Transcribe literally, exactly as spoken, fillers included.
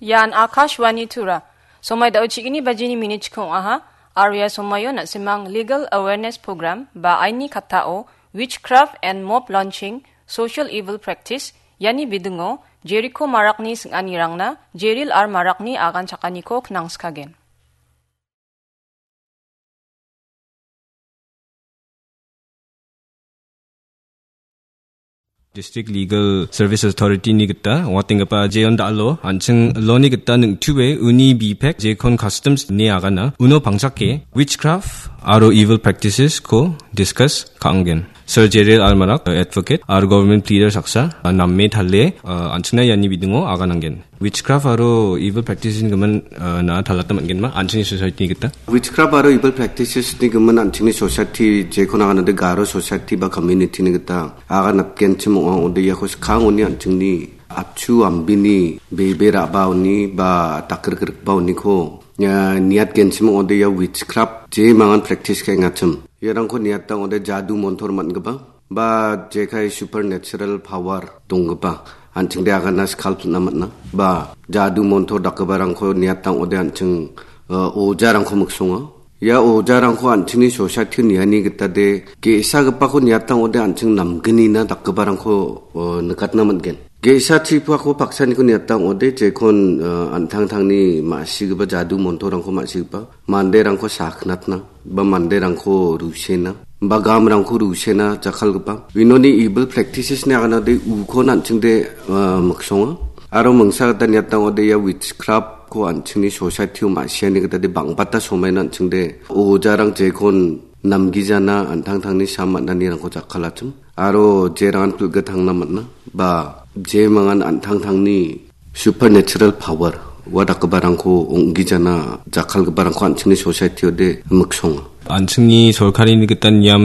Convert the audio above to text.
Ian Akashvani Tura. Somai dao chigini bajini minit chikong aha. Aria somayo na·simang Legal Awareness Program ba aini katao Witchcraft and Mob Launching, Social Evil Practice, iani bidingo Jericho Marakni sing·anirangna Jeril R Marakni agan chakaniko knangskagen. District Legal Service Authority ni gita ong·atenggipa Jeon Dalo an·ching law-ni gita ningtue uni bipek Jekon Customs ni agana uno pangchake witchcraft aro evil practices ko discuss ka·angen. Sir Jeril Almarak, advocate aro government pleader saksa, name tale, an·chingna iani bidingo aganangen. Witchcraft aro evil practices ni gimin, uh, na talata man·genma, an·chingni society ni gita. Witchcraft aro evil practices ni gimin an·chingni society, jekon aganade Garo society ba community ni gita aganatgenchim ong·a, ode iako skangoni an·chingni apchu ambini bebe ra·baoni ba dakgrikbaoniko, uh, niatgenchim ong·ode ia witchcraft je mangan practice ka·engachim. Iarangko niatang ode jadu montor man·gipa. Ba jekai supernatural power donggipa, an·chingde agana skal pil·na man·a. Ba jadu montor dakgiparangko niatang ode an·ching, uh, ojarangko miksonga. Ia ojarangko an·chingni society niani gitade ge·sagipako niatang ode an·ching namgnina dakgiparangko, uh, nikatna man·gen. Ge·sa chipuako paksaniko niatang ode jekon, uh, an·tangtangni ma·sigipa jadu montorangko ma·sigipa. Manderangko saknatna, ba manderangko rusena, ba gamrangko rusena jakkalgipa. Inoni evil practices ni aganade ukon an·chingde, ah, miksonga. Aro mingsa gita niatang ode ia witchcraft ko an·chingni society o ma·siani gitade bang·bata somaina an·chingde ojarang jekon namgijana an·tangtangni sam man·anirangko jakkalachim. Aro jerangan pilgitangna man·a. Ba jemangan an·tangtangni supernatural power ua dakgiparangko ong·gijana jakkalgiparangko an·chingni society ode miksonga. An·chingni sorkarini gita niam